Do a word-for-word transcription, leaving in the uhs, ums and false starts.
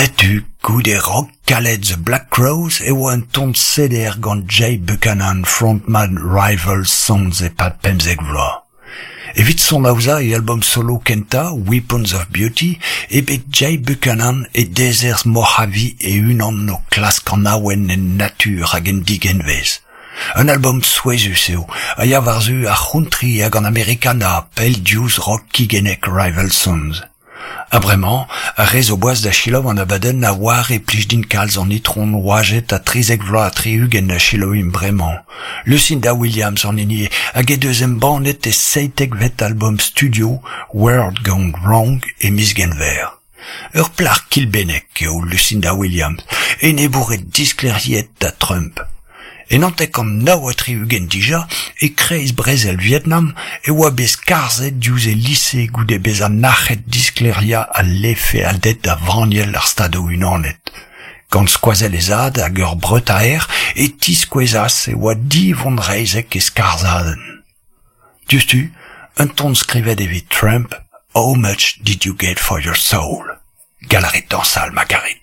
Setu, goude rock kalet The Black Crowes e oa un ton seder gant Jay Buchanan, frontman Rival Sons e-pad pemzek vloaz. Evit sonaozañ e albom solo kentañ, Weapons of Beauty, eo bet Jay Buchanan e dezerzh Mojave e-unan o klask an awen en natur hag en digenvez. Un albom souezhus eo, a ya war-zu ar c'hountry hag an Americana, pell diouzh rock kigennek Rival Sons. Ha bremañ, ar re zo boas da selaou an abadenn a oar e plij din kalz an itron oajet a trizek vloaz ha tri-ugent a selaouimp bremañ. Lucinda Williams an hini eo, hag he deus embannet e seitekvet albom studio World Gone Wrong e miz Genver. Ur plac'h kilbennek eo Lucinda Williams, enebouret disklêriet da Trump. E naontek-kant nav ha tri-ugent dija, e-kreiz brezel Vietnam, e oa bet skarzhet diouzh e lise goude bezañ nac'het disklêriañ al lefealded da vanniel ar Stadoù-Unanet. Gant skoazell he zad hag ur breutaer e tiskouezas e oa divonreizhek e skarzhadenn. Diouzhtu, un ton skrivet evit Trump, How much did you get for your soul? Gall a rit dañsal ma karit.